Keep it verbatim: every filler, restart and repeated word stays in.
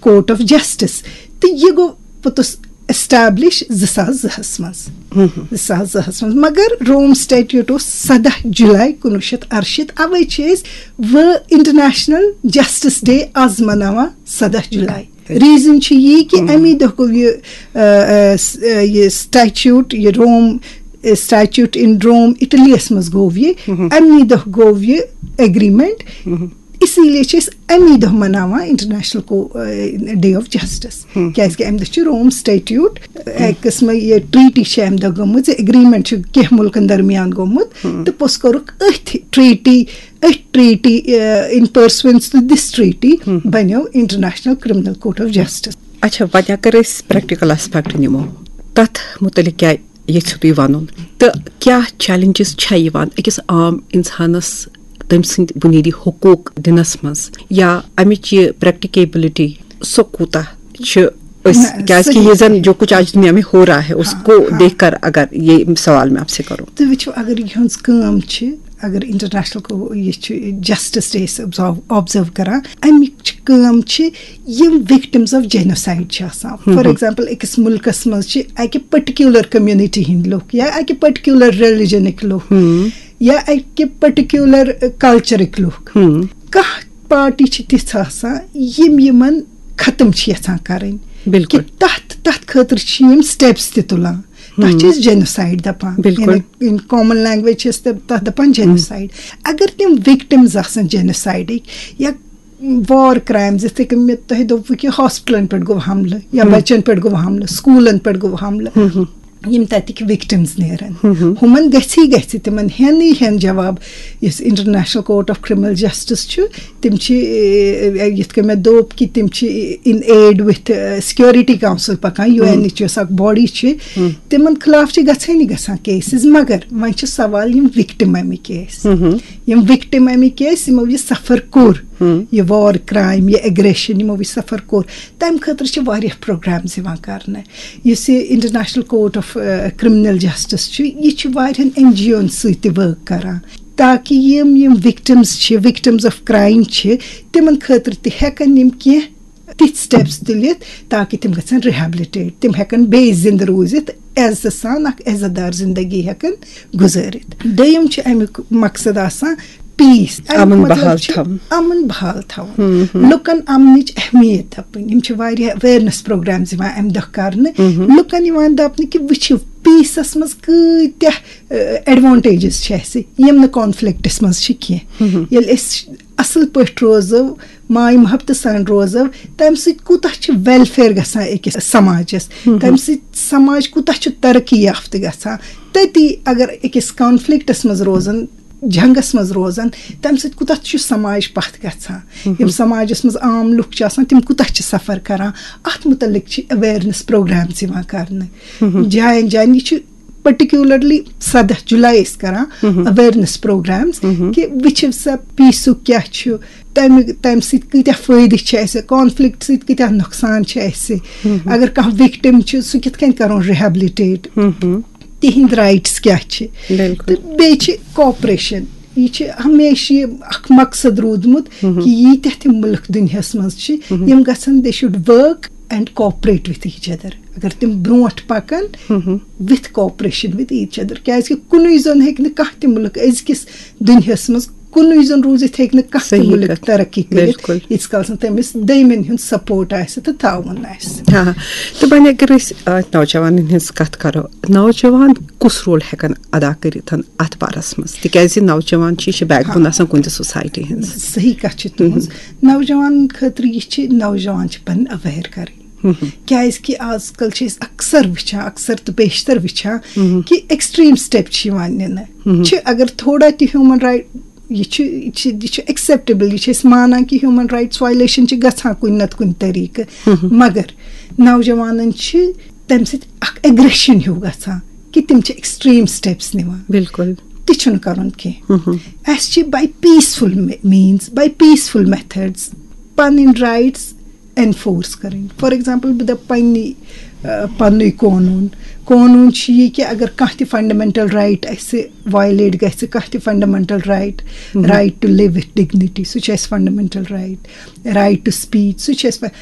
Covert of justice, تہٕ یہِ گوٚو پوٚتُس ایسٹیبلش زٕ ساس زٕ ہَس منٛز۔ زٕ ساس زٕ ہَس منٛز، مگر روم سٹیچوٹ اوس سَداہ جولائی کُنوُہ شیٚتھ اَرشیٖتھ۔ اوے چھِ أسۍ وۄنۍ انٹرنیشنل جسٹس ڈے آز مناوان سَداہ جولائی۔ ریزن چھُ یی کہِ امی دۄہ گوٚو یہِ، آ، آ، س-، آ، یہِ سٹیچوٹ، یہِ روم، آ، سٹیچوٹ ان روم، اٹلی یس منٛز گوٚو یہِ۔ امی دۄہ گوٚو یہِ ایگریمنٹ۔ اسی لیے چھِ أسۍ امی دۄہ مناوان انٹرنیشنل کو-، آ، ڈے آف جسٹس۔ کیازِ کہِ امہِ دۄہ چھُ روم سٹیچوٹ، آ، اکہِ قٕسمہٕ یہِ ٹریٹی چھِ امہِ دۄہ گٔمٕژ، یہِ ایگریمنٹ چھُ کینٛہہ مُلکن درمیان گوٚمُت، تہٕ پوٚتُس کوٚرُکھ أتھۍ ٹریٹی، أتھۍ ٹریٹی، آ، in pursuance to this treaty بنیو international criminal court of justice. اچھا، وۄنۍ اگر أسۍ پریکٹیکل آسپیکٹ نِمو، تتھ مُتعلق کیٛاہ یژھِو تُہۍ ونُن؟ تہٕ کیٛاہ چیلنجز چھےٚ یِوان أکِس عام انسانس تٔمۍ سٕنٛدۍ بُنیٲدی حقوٗق دِنس منٛز، یا امِچ یہِ پریکٹیکیبلٹی، سۄ کوٗتاہ چھِ أسۍ، نہ، کیازِ کہِ صحیح۔ یہ زن جو کچھ آج دنیا میں ہو رہا ہے، اس ہاں، کو ہاں۔ دیکھ کر اگر یہ سوال میں آپ سے کروں۔ تُہۍ وٕچھِو، اگر یِہٕنٛز کٲم چھِ، اگر انٹرنیشنل کو-، یہِ چھُ جسٹس ڈے أسۍ آبزرو کران، اَمِچ کٲم چھِ یِم وکٹمز آف جینوسائیڈ چھِ آسان۔ فار ایگزامپل، أکِس مُلکس منٛز چھِ اَکہِ پٔٹِکیولر کمیونٹی ہٕنٛدۍ لُکھ یا اَکہِ پٔٹِکیولر ریلیجنٕکۍ لُکھ یا اَکہِ پٔٹِکیولر کلچرٕکۍ لُکھ۔ کانٛہہ پارٹی چھِ تِژھ آسان یِم یِمن ختم چھِ یژھان کرٕنۍ۔ بِلکُل۔ کہِ تَتھ، تَتھ خٲطرٕ چھِ یِم سٹیپس تہِ تُلان۔ تَتھ چھِ أسۍ جینوسائیڈ دَپان۔ بِلکُل۔ یعنی in common language چھِ أسۍ تَتھ، تَتھ دَپان جینوسائیڈ۔ اگر تِم وکٹمز آسن جینوسائیڈٕکۍ یا وار کرائمز، یِتھے کٔنۍ مےٚ تۄہہِ دوٚپوٕ کہِ ہاسپٹلن پٮ۪ٹھ گوٚو حملہٕ یا بچن پٮ۪ٹھ گوٚو حملہٕ، سکوٗلن پٮ۪ٹھ گوٚو حملہٕ، یِم تَتِکۍ وکٹمز نیرن، ہُمن گژھی گژھِ تِمن ہینٕے ہین جواب۔ یُس international court of criminal justice چھُ، تِم چھِ، اے، یِتھ کٔنۍ مےٚ دوٚپ کہِ تِم چھِ in aid with security council پکان، یو این یُس اکھ باڈی چھِ، تِمن خلاف چھِ گژھٲنی گژھان کیسز، مگر وۄنۍ چھُ سوال یِم وکٹم اَمِکۍ ٲسۍ، یِم وکٹم اَمِکۍ ٲسۍ، یِمو یہِ سفر کوٚر، یہِ وار کرائم، یہِ ایگریشن، یِمو یہِ سفر کوٚر، تَمہِ خٲطرٕ چھِ واریاہ پروگرامز یِوان کرنہٕ۔ یُس یہِ international court of criminal justice چھُ، یہِ چھُ واریاہن این جی اوَن سۭتۍ تہِ ورک کران، تاکہِ یِم، یِم وکٹمز چھِ، وکٹمز آف کرائم چھِ، تِمن خٲطرٕ تہِ ہٮ۪کن یِم کینٛہہ تِتھۍ سٹیپس تُلِتھ، تاکہِ تِم گژھن ریہیبلٹیٹ، تِم ہٮ۪کن بیٚیہِ زِندٕ روٗزِتھ، عزتہٕ سان اکھ عزت دار زندگی ہٮ۪کن گُزٲرِتھ۔ دوٚیِم چھُ اَمیُک مقصد آسان پیس، اَمیُک امن مطلب بحال چھُ تھاوُن۔ امن بحال تھاوُن، لُکن امنٕچ اہمیت دپٕنۍ۔ یِم چھِ واریاہ اویرنس پروگرامز یِوان امہِ دۄہ کرنہٕ، لُکن یِوان دپنہٕ کہِ وٕچھِو، پیسس منٛز کۭتیاہ ایڈوانٹیجز چھِ اَسہِ، یِم نہٕ کانفلکٹس منٛز چھِ کینٛہہ۔ ییٚلہِ أسۍ اصل پٲٹھۍ روزو، ماے محبتہٕ سان روزو، تمہِ سۭتۍ کوٗتاہ چھُ ویلفیئر گژھان أکِس سماجس، تمہِ سۭتۍ سماج کوٗتاہ چھُ ترقی یافتہٕ گژھان۔ تٔتی اگر أکِس کانفلکٹس منٛز روزن، جنگس منٛز روزن، تمہِ سۭتۍ کوٗتاہ چھُ سماج پتھ گژھان۔ یِم سماجس منٛز عام لُکھ چھِ آسان، تِم کوٗتاہ چھِ سفر کران، اتھ متعلق چھِ اویرنس پروگرامز یِوان کرنہٕ۔ جاین جاین، یہِ چھُ پرٹیکولرلی سَداہ جولائی أسۍ کران اویرنس پروگرامز کہِ وٕچھِو سا، پیسُک کیٛاہ چھُ، تَمہِ، تَمہِ سۭتۍ کۭتیٛاہ فٲیدٕ چھِ اَسہِ، کانفلکٹ سۭتۍ کۭتیٛاہ نۄقصان چھِ اَسہِ۔ اگر کانٛہہ وکٹم چھُ، سُہ کِتھ کٔنۍ کرون ریہیبلٹیٹ، تِہنٛدۍ رائٹس کیٛاہ چھِ۔ بِلکُل۔ تہٕ بیٚیہِ چھِ کوآپریشن۔ یہِ چھِ ہمیشہِ یہِ اکھ مقصد روٗدمُت کہِ ییٖتیٛاہ تہِ مُلک دُنیاہس منٛز چھِ، یِم گژھن، they should work and cooperate with each other۔ اگر تِم برونٛٹھ پکن with cooperation with each other، کیازِ کہِ کُنُے زوٚن ہیٚکہِ نہٕ کانٛہہ تہِ مُلک أزکِس دُنیاہس منٛز، کُنُے زوٚن روٗزِتھ ہیٚکہِ نہٕ کانٛہہ تہِ صحیح مُلک کتھ۔ ترقی کٔرِتھ، بِلکُل۔ ییٖتِس کالس نہٕ تٔمِس دٔیمٮ۪ن ہُنٛد سپورٹ آسہِ تہٕ تعاوُن آسہِ۔ ہاں، تہٕ وۄنۍ اگر أسۍ، آ، نوجوانن ہٕنٛز کتھ کرو، نوجوان کُس رول ہٮ۪کن ادا کٔرِتھ اتھ بارس منٛز؟ تِکیازِ نوجوان چھِ، یہِ چھِ بیک بون آسان کُنہِ تہِ سوسایٹی ہٕنٛز۔ صحیح کتھ چھِ تُہٕنٛز۔ نوجوانن خٲطرٕ یہِ چھِ، نوجوان چھِ پنٕنۍ اویئر کرٕنۍ۔ کیازِ کہِ آز کل چھِ أسۍ اکثر وٕچھان، اکثر تہٕ بیشتر وٕچھان کہِ ایکسٹریم سٹیپ چھِ یِوان نِنہٕ۔ چھِ اگر تھوڑا تہِ ہیومن رائٹ، یہِ چھُ، یہِ چھُ، یہِ چھُ ایکسیپٹیبل، یہِ چھِ أسۍ مانان کہِ ہیومن رائٹس وایلیشن چھِ گژھان کُنہِ نتہٕ کُنہِ طریقہٕ، مگر نوجوانن چھِ تمہِ سۭتۍ اکھ ایگریشن ہیوٗ گژھان کہِ تِم چھِ ایکسٹریم سٹیپس نِوان۔ بِلکُل۔ تہِ چھُنہٕ کرُن کینٛہہ۔ اَسہِ چھِ by peaceful means, by peaceful methods پنٕنۍ رائٹس انفورس کرٕنۍ۔ فار ایگزامپل، بہٕ دپہٕ پننی، آ، پننُے قونوٗن۔ قونوٗن چھُ یہِ کہِ اگر کانٛہہ تہِ فنڈامنٹل رائٹ اَسہِ وایلیٹ گژھِ، کانٛہہ تہِ fundamental right, right to live with dignity، سُہ چھُ اَسہِ fundamental right. Right to speech، سُہ چھُ اَسہِ ف-،